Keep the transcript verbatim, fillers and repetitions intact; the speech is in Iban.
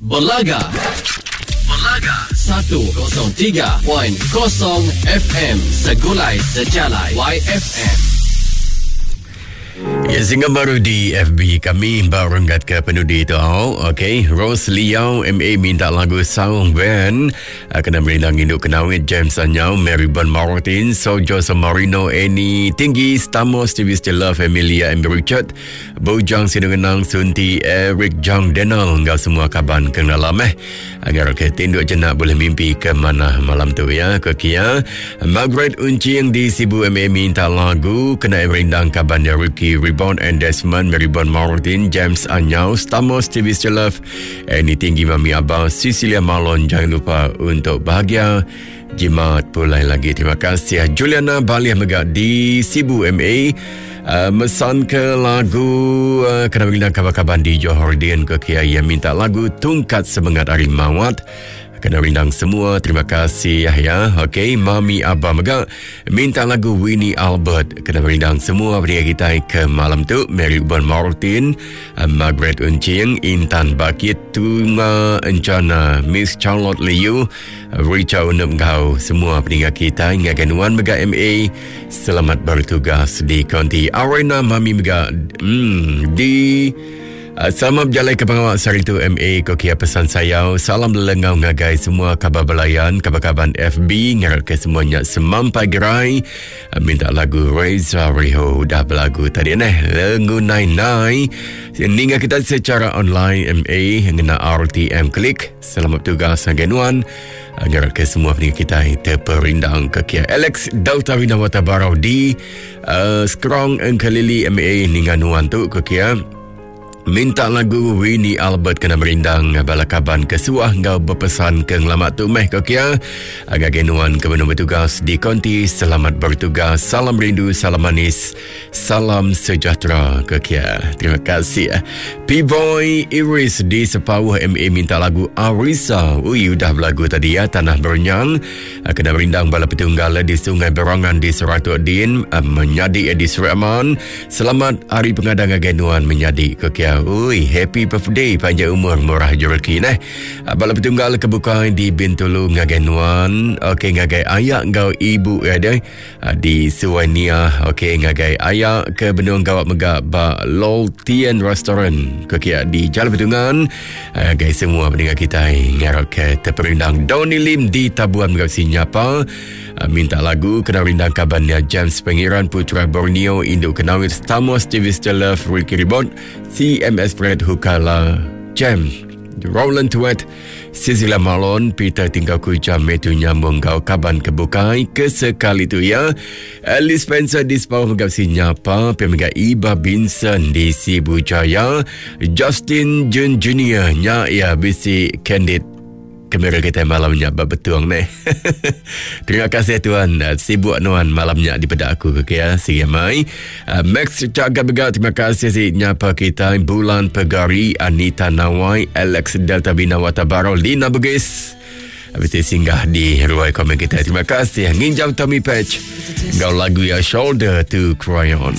Belaga. Belaga seratus tiga perpuluhan kosong F M Segulai Sejalai Y F M. Ya, singgah baru di F B kami baru renggat ke penudi tu. Okey, Rose Liao M A minta lagu Saung Band. Ah, kena merindang induk kenawit James Anyau, Mary Bon Martin, Sojo Samarino, Annie Tinggi, Stamos, T V Still Love, Emilia M. Richard, Bujang Sinungenang, Sunti, Eric Jang Denal, enggau semua kaban kenalam eh. Agar ke tinduk jenak boleh mimpi ke mana malam tu ya. Ke kia. Margaret Uncing di Sibu M A minta lagu kena merindang kaban Ricky Reborn and Desmond, Mary Bon Martin, James Anyau, Stamos, T V Still Love, Annie Tinggi, Mami Abah, Cecilia Malon. Jangan lupa untuk bahagia. Jimat pulai lagi. Terima kasih. Juliana Baliah Megak di Sibu M A. Uh, mesan ke lagu uh, kena merindang kabar-kabar di Johor Dian ke Kia yang minta lagu Tungkat Semangat Ari Mawat. Kena rindang semua. Terima kasih ya. Okey, Mami Abah Megak minta lagu Winnie Albert. Kena rindang semua pria kita ke malam tu. Mary Bon Martin, uh, Margaret Uncing, Intan Bakit, Tuma Encana, Miss Charlotte Liu, Richard Unup Gau. Semua peninggal kita ngagai Nuan Megak M A. Selamat bertugas di Konti Arena Mami Megak hmm, di Uh, selamat berjalan ke pengawal sehari itu M A Kokia pesan saya. Salam lelengau ngagai semua kabar belayan, kabar-kabar F B ngarap ke semuanya semampai gerai. Uh, minta lagu Reza Riho dah berlagu tadi neh Lengu Nai Nai. Ninggal kita secara online M A ngena R T M Klik. Selamat bertugas ngagai nuan. Agar ke semua pendengar kita terperindang ke kia. Alex Delta Winawata Barau di uh, Skrong Engkelili M A ninggal nuan tu ke kia. Minta lagu Winnie Albert kena merindang bala kaban ke suah ngau berpesan ke ngelamat tu meh ke kia. Agak genuan ke benar bertugas di konti. Selamat bertugas. Salam rindu, salam manis, salam sejahtera ke kia. Terima kasih. P-Boy Iris di Sepawah M A minta lagu Arisa. Ui, udah berlagu tadi ya. Tanah Berenyang. Kena merindang bala petunggal di Sungai Berangan di Seratuk Din. Menyadi di Seri Aman. Selamat Hari Pengadang Agenuan menyadi ke kia. Ui, happy birthday, panjang umur, murah rezeki neh. Bala petunggal kebuka di Bintulu ngagai nuan. Okey, ngagai ayah ngau ibu ya deh. Di Suwania. Okey, ngagai ayah ke Benung Gawak Megak ba Lol Tien Restaurant. Ke kia di Jalan Betungan. Ngagai semua pendengar kita ngarap ke terperindang. Donny Lim di Tabuan Megak Sinyapa. Minta lagu kena rindang kabannya James Pengiran Putra Borneo Induk Kenawit Stamos T V Love Ricky Ribot C M S Fred Hukala Jam Roland Tuet Cecilia Malon Peter Tinggal Kuja Metu Nyambung Kau Kaban Kebukai kesekali tu ya. Alice Spencer di Sepawah Megap Sinyapa Pemegak Iba Binson di Sibu Jaya Justin Jun Junior nya ya bisi candid kamera kita malamnya betul ni. Terima kasih tuan. Sibuk nuan malamnya di pada aku ke ya. Sige mai. Uh, Max Cakap Begat terima kasih si nyapa kita Bulan Pegari Anita Nawai Alex Delta Bina Watabaro Lina Bugis. Habis singgah di ruai komen kita. Terima kasih. Nginjam Tommy Patch. Gau lagu ya, Shoulder to Cry On.